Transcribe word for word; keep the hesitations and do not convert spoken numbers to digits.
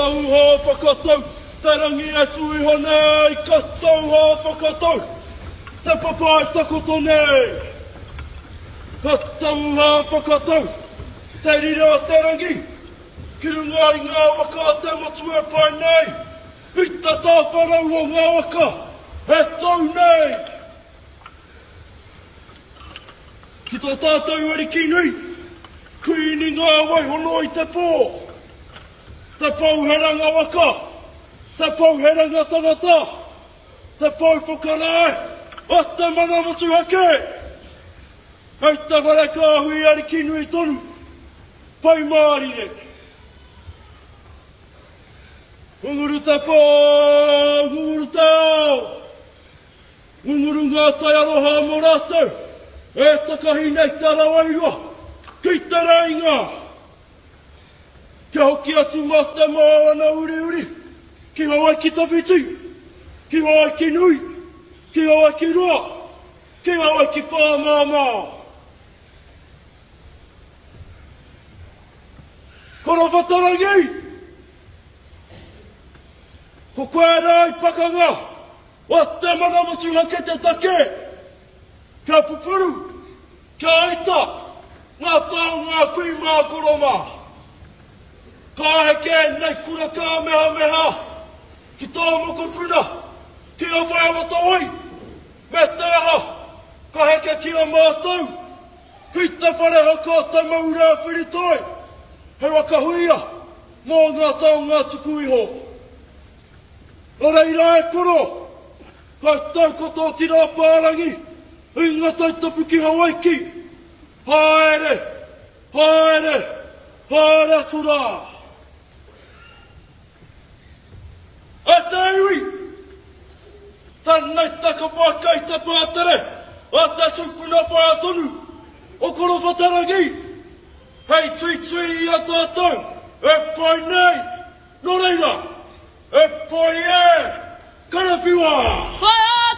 tauhā whakatau, te rangi e tū iho nei, ka tauhā whakatau, te papa e takoto nei. Ka tauhā whakatau, te rire o te rangi, ki runga i ngā waka o te motu e pae nei, i te tāwharau o ngā waka e tau nei. Ki tō tātou ariki nui, Kuini ngā waihono i te pō, te pouheranga waka, te pouheranga tangata, te pou whakarae o te mana motuhake. Hei te whare kāhui ariki nui tonu, Pai Mārire. Ngunguru te pō, ngunguru te ao, ngunguru ngā tai aroha mō rātou, e takahi nei te ara wairua ki te reinga. Kia hoki atu mā te moana uriuri, ki Hawaiki tawhiti, ki Hawaiki nui, ki Hawaiki roa, ki Hawaiki whāmāmā. Korowhatarangi! Ko koe rā i pakanga o te mana motuhake te take, kia pupuru, kia aita ngā taonga a kui mā koro mā. Ka heke nei kura kāmehameha ki tā mokopuna, ki a Whaiawatawai, me te aha, ka heke ki a mātou, ki te whare haka o Te Maura Whiritoi, he waka huia mō ngā taonga tuku iho. Nō reira e koro, ka tau ko tō tira pārangi i ngā taitapu ki Hawaiki. Haere, haere, haere atu rā. E te iwi! Tēnei te kapa kei te pātere a te tupuna whaea tonu o Korowhatarangi hei tuitui i a tātou e pai nei, nō reira, e pai e, karawhiua! Whai